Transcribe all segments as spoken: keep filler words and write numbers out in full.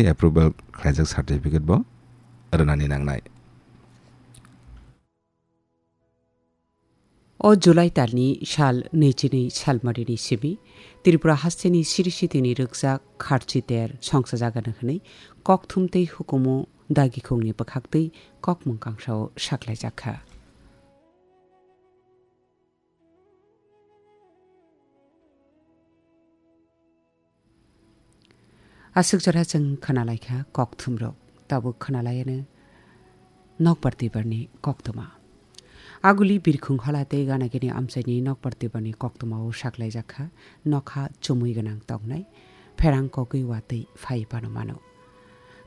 approval khlaijak certificate bo rwnani nangnai. O July talni sal naichini salmarini simi Tripura hasteni siri sitini rwkjak kharchi ter songsa jagano hwnwi kokthum tei hukumu dagikhungni bwkhaktwi kokmung kangsao saklaijakha. Aswk jora chwng khwnalaikha kokthumrok, tabuk khwnalaiano nokbar twibarni koktwma. Aguli birkhung hola tei ganagini amchaini nokbar twibarni koktwmao saklaijakha nokha chumui gwnang tongnai, pherang kogwi watwi phai phano mano.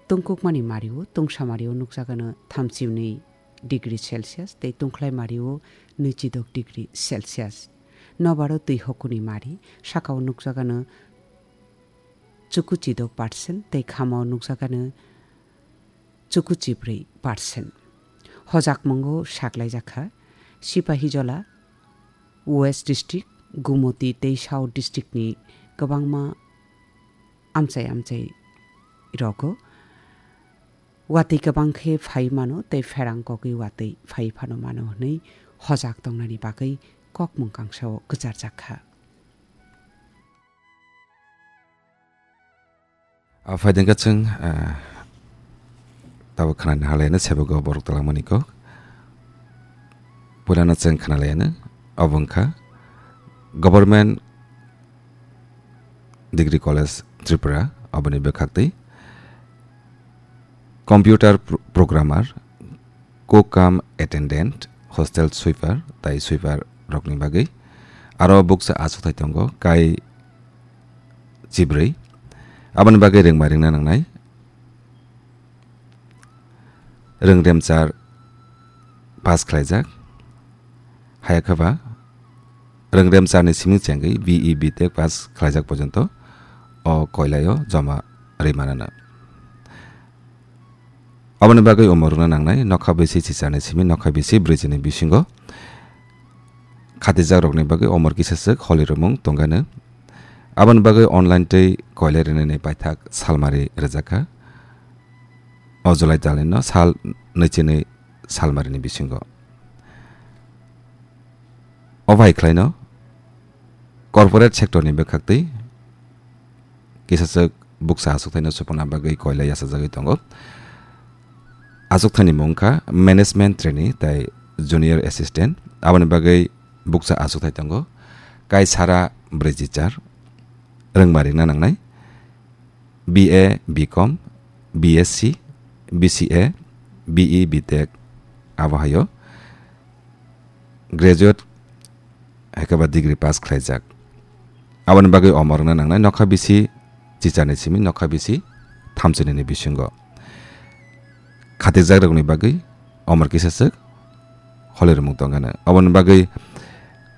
Tungkukmani mario, tungsa mario nukjagano thamchi hwnwi degree Celsius tei tungkhlai mario nwichidok degree Celsius. Nobaro twi hokuni mari, sakao nukjagano chukuchidok percent tei khamao nukjagano chukuchibrwi percent. Hojakmungo saklaijakha Sipahijola, West District, Gumoti tei South District ni kwbangma amchai amchai rogo. Watwi kwbang khe phai mano tei pherang kogwi watwi phai phano mano hwnwi hojak tongnani bagwi kokmung kangsao kwcharjak kha. A, phaidengkha chwng, a, tabuk khwnani halaino sebego borok twlangmani kok. Puilano chwng khwnalaino, obo wngkha Government Degree College Tripura, oboni bwkhaktwi computer pro-, programmer, cook cum attendant, hostel sweeper, tai sweeper rokni bagwi aro buksa achukthai tongo, kai chibrwi. Aboni bagwi rwngma ringna nangnai. Rwngremchar pass khlaijak. Hayakhe ba rwngremcharni simi chengwi B E B Tech pass khlaijak porjonto o koilaio joma rwi manana. Aboni bagwi omo rwna nangnai, nokha bisi chicharni simi nokha bisi brwichini bisingo khatijak rokni bagwi omor kisa swk holi rwmung tongano. Aboni bagwi online tei koilai rwnani paithak salmari rwjakha. O July talnino sal nwichini salmarini bisingo. O bai khlaino corporate sectorni bwkhaktwi kisaswk buksa achukthaino supuna bagwi koilai yachajagwi tongo. Achukthaini mung wngkha management trainee tai junior assistant. Aboni bagwi buksa achukthai tongo kaisara brwichi char rwngma ringna nangnai. B A, B Com, B S C, B C A, B E, B Tech, abo haio graduate hai khe ba degree pass khlaijak. Aboni bagwi omor wngna nangnai nokha bisi chicharni simi nokha bisi thamchinini bisingo. Khatikjakrokni bagwi omor kisa swk holi rwmung tongano. Aboni bagwi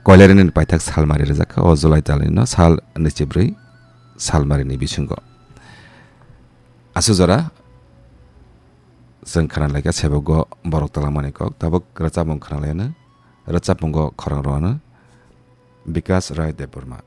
koilarini paithak salmari rwjak kha o July talnino sal nwichibrwi salmarini bisingo. Aswk jora chwng khwnalaikha sebogo borok twlangmani kok, tabuk rwchapmung khwnalaino, rwchapmungo khorang rwano Bikas Rai Debbarma.